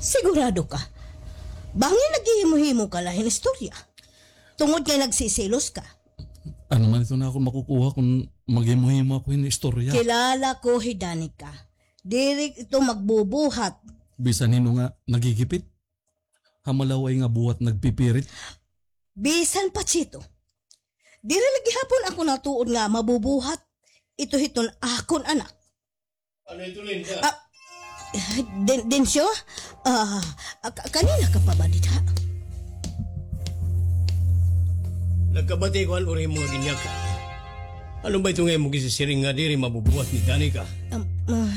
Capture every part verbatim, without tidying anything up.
Sigurado ka? Bangin naghihimo-himo ka la hin istorya. Tungod kay nagsiselos ka. Ano man ito nga akon makukuha kon maghimo-himo ako hin istorya? Kilala ko hi Danica. Diri ito magbubuhat. Bisan hin-o nga nagigipit. Ha malaw-ay nga buhat nagpipirit. Bisan pa, Chito. Diri la gihapon ako natuod nga mabubuhat ito hiton akon anak. Ano ito, Linda? Ah, Den-, Dencio? Ah, ah, ka-, kanina ka pa ba dida? Nagkabati ko an uri mo nga ginyakan. Ano ba ito nga imo gisisiring nga diri mabubuhat ni Danica? Um, ah.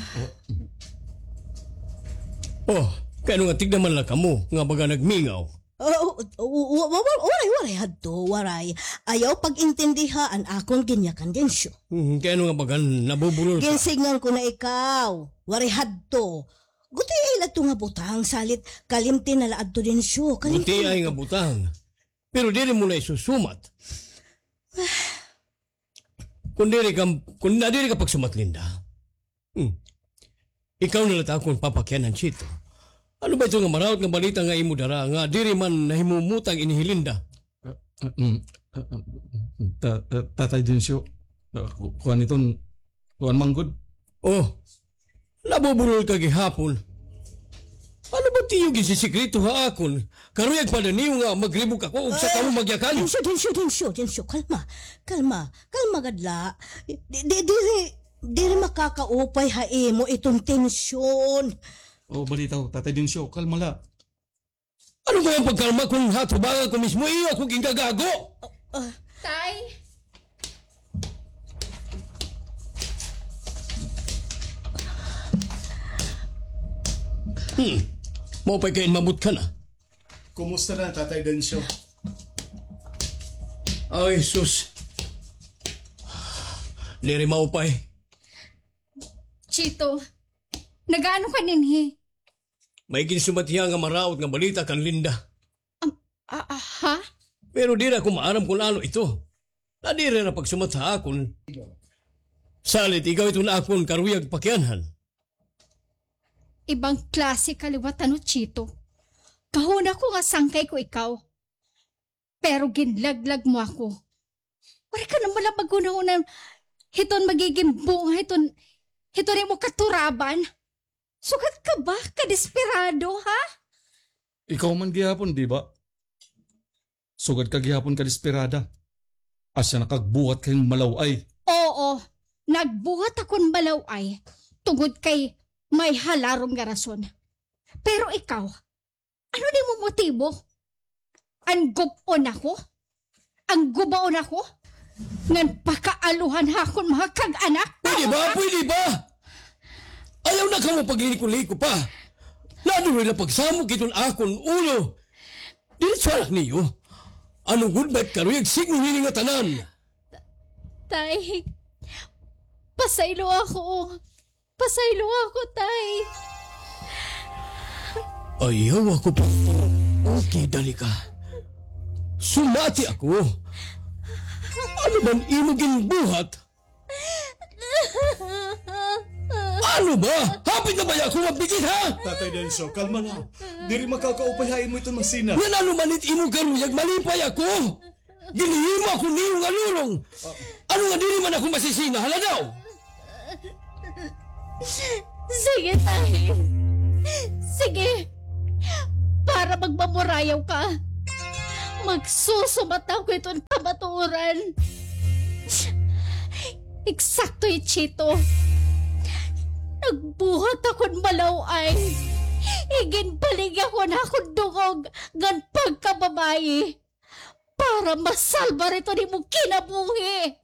Oh, kay ano nga tigda man la kamo nga baga nagmingaw? Oh, oh, oh, wa-, wa-, wa-, waray, waray hadto, waray. Ayaw pag-intindiha an akon ginyakan, Dencio. Hmm, kay ano nga baga nabubulol ka? Ginsigngan ko na ikaw. Waray hadto. Gutiay la ito nga butang, salit kalimti na la adto, Dencio. Kalimti na la adto. Gutiay nga butang. Pero diri mo na isusumat. Kon diri ka, kon na diri ka pagsumat, Linda. Hmm. Ikaw na la it akon papakianhan, Chito. Ano ba ito nga maraot nga balita nga imo dara nga diri man nahimumutang ini hi Linda? Ah, ah, mm, ah, ah, ta-, ah, Tatay Dencio, ah, ku-, kuan iton, kuan man gud. Oh, nabubulol ka gihapon. Ano ba it iyo ginsisikreto ha akon? Karuyag pa la niyo nga magribok ako ug saka mo magyakan? Dencio, Dencio, Dencio, Dencio, kalma, kalma, kalma gad la. Di, di, diri, diri makakaupay ha imo iton tensyon. Oh, balitaw, Tatay Dencio, kalma la. Ano ba an pagkalma kon ha atubangan ko mismo, iyo ako gingagago? Ah, ah. Tay? Hmm. Maupay kay inmabot ka na. Kumusta na, Tatay Dencio? Ay, sus. Diri maupay. Chito, nag-aano ka dinhi? May ginsumat hiya nga maraot nga balita kan Linda. Am, a, a, ha? Pero diri ako maaram kon ano ito. Nadiri na pagsumat ha akon. Salit, ikaw iton akon karuyag pakianhan. Ibang klase ka liwat, ano, Chito? Kahuna ko nga sangkay ko ikaw. Pero ginlaglag mo ako. Waray ka na man la paghunahuna hiton magigin bunga hiton, hiton imo katuraban. Sugad ka ba kadesperado, ha? Ikaw man gihapon, di ba? Sugad ka gihapon kadesperada. Asya nakagbuhat ka hin malaw-ay. Oo, nagbuhat ako hin malaw-ay tungod kay may halarom nga rason. Pero ikaw, ano an imo motibo? An gub-on ako? An gubaon ako? Ngan pakaaluhan ha akon mga kag-anak? Pwede ba? Pwede ba? Ayaw na kamo pagliko-liko pa. Naduro na pagsamok iton akon ulo. Diretso anak niyo. Ano gud ba it karuyag signo hini nga tanan? Tay, pasaylo ako. Pasaylo ako, Tay. Ayaw ako pa. Okay, dali ka. Sumati ako. Ano man imo ginbuhat? Ano ba? Hapit na baya ako mabigit, ha? Tatay Dencio, kalma la. Diri makakaupay ha imo iton masina. Ngan ano man it imo karuyag, malipay ako. Ginhimo ako niyo nga lurong. Ano nga diri man ako masisina, hala daw? Sige, Tay. Sige. Para magmamurayaw ka, magsusumat ako iton kamatuoran. Eksakto hi Chito. Nagbuhat ako hin malaw-ay. Iginbaligya ko an akon dungog ngan pagkababaye para masalbar iton imo kinabuhi.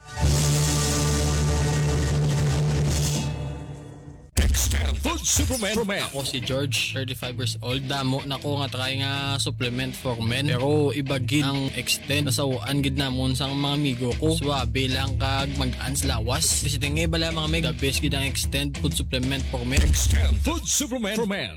Extend Food Supplement. Ako si George, thirty-five years old. Damo na ko nga try nga supplement for men. Pero iba gid an Extend. Nasaw-an gid namon sa mga amigo ko. Suabe lang kag mag-ans lawas. Bisita nga iba lang mga meg. The best gid an Extend Food Supplement for Men. Extend Food Supplement for Men.